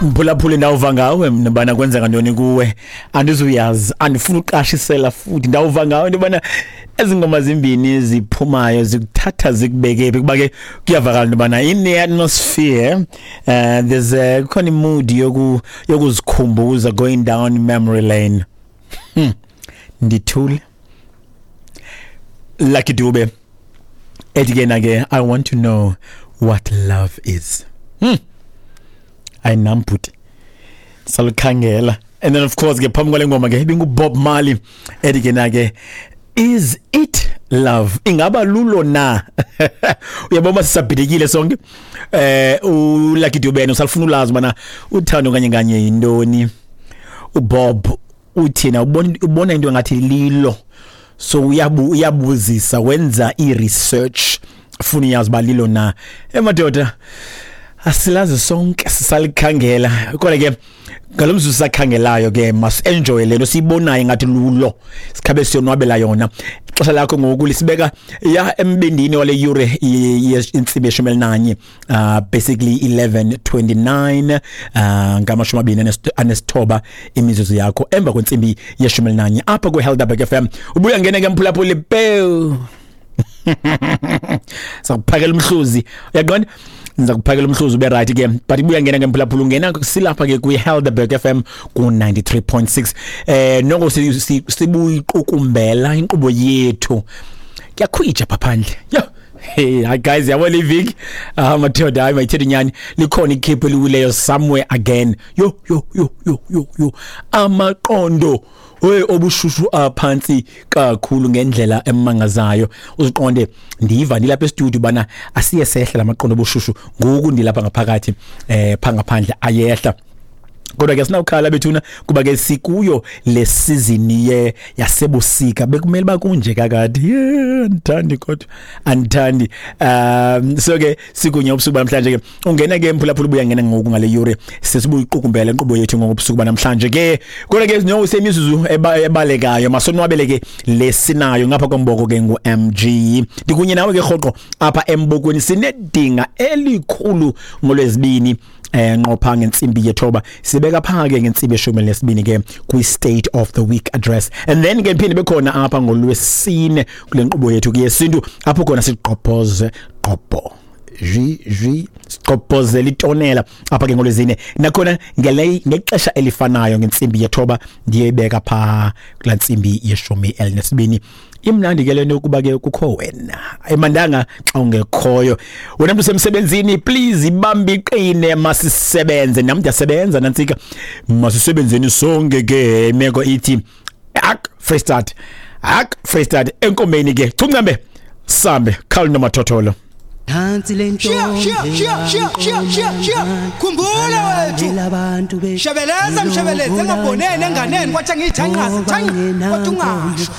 Mphulaphuli, ndawuva ngawe mna bana kwenzeka ntoni kuwe. Andizuyazi, andifuna uqashisela futhi. Ndawuva ngawe into yobana ezi ngoma zimbini ziphumayo zikuthatha zikubeke phi, kuba ke kuyavakala into yobana in the atmosphere there's a kukhona imood yokuzikhumbuza, going down memory lane. Ndithule. Lucky Dube ethi ke na ke, "I want to know what love is." Ayinam bhuti, salukhangela. And then of course ke phambi kwale ngoma ke ibingu Bob Marley ethi ke na ke, "Is it love?" Ingaba lulo na? Uyabona, sisabhidekile sonke. ULucky Dube usalifuna ulazi bana uthando kanye kanye yintoni. uBob uthina ubona into engathi lilo, so uyabuzisa, wenza i-research, ufuna uyazi ba lilo na. Emadoda, asilazi sonke, sisalikhangela. Kodwa ke ngalo mzuzu sakhangelayo ke, must enjoy lento siyibonayo ngathi lulo, sikhabe siyonwabela yona. Ixesha lakho ngoku lisibeka ya embindini wale yure intsimbi 11, basically 11:29, 29 imizuzu yakho emva kwentsimbi 11 apha kwi-Helderberg FM. Ubuya ngene ke mphulaphuli, pew, sakuphakela umhluzi. Uyaqonda, ndiza kuphakela umhluzi ube right ke, but ibuya ngena ke mphulaphula, ungena silapha ke kwi-Helderberg FM ku-93.6. Noko sibuyiqukumbela inkqubo yethu. Kuyakhwija pha phandle. Yo hey, hi guys, yabona iviki, ah madoda, hayi mayithethe inyani, likhona ikhephu eliwileyo somewhere again. Yo yo yo yo yo yo, amaqondo hey obushushu aphansi kakhulu ngendlela emangazayo. Uziqonde ndiva ndilapha e-studio bana asiye sehla lamaqondo obushushu, ngoku ndilapha ngaphakathi, pha ngaphandle ayehla. Kodwa ke sinawukhala bethuna, kuba ke sikuyo le season ye yasebusika. Bekumele bakunje kakade. Yeah, andithandi kodwa andithandi. So ke sikunye ubusuku banamhlanje ke. Ungena ke mphulaphula, ubuya ngena ngoku ngale yure, sesibuyiqukumbela inkqubo yethu ngobusuku banamhlanje ke. Kodwa ke no semizuzu ebalekayo, masonwabele ke lesinayo ngapha komboko ke ngu MG. Ndikunye nawe ke rhoqo apha embokweni. Sinedinga elikhulu ngolwezibini, nqopha ngentsimbi 9, sibeka pha ke ngentsimbi 12 ke kwi State of the Week Address, and then ke phinde bekhona apha ngolwesine kule nkqubo yethu yesintu, apho khona siqophoze qopho ji ji, siqophozela itonela apha ke ngolwezine nakhona ngexesha elifanayo ngentsimbi 9, ndiyibeka pha kula ntsimbi 12. Imnandi ke lento kuba ke kukho wena, ayimandanga xa ungekhoyo wena mntu usemsebenzini. Please ibambe iqine, masisebenze. Nam ndiyasebenza nantsika, masisebenzeni sonke ke. Imeko ithi ak fresh start, ak fresh start enkomeni ke, chuncembe sambe khawul nomathotholo. Nansi Shiya, shiya, shiya, shiya, shiya, shiya, shiya. Khumbula wethu. Abantu Shebeleza mshebeleze, engaboneni enganeni, kwathi angiyithanqazi, thanqa, kodwa ungasho.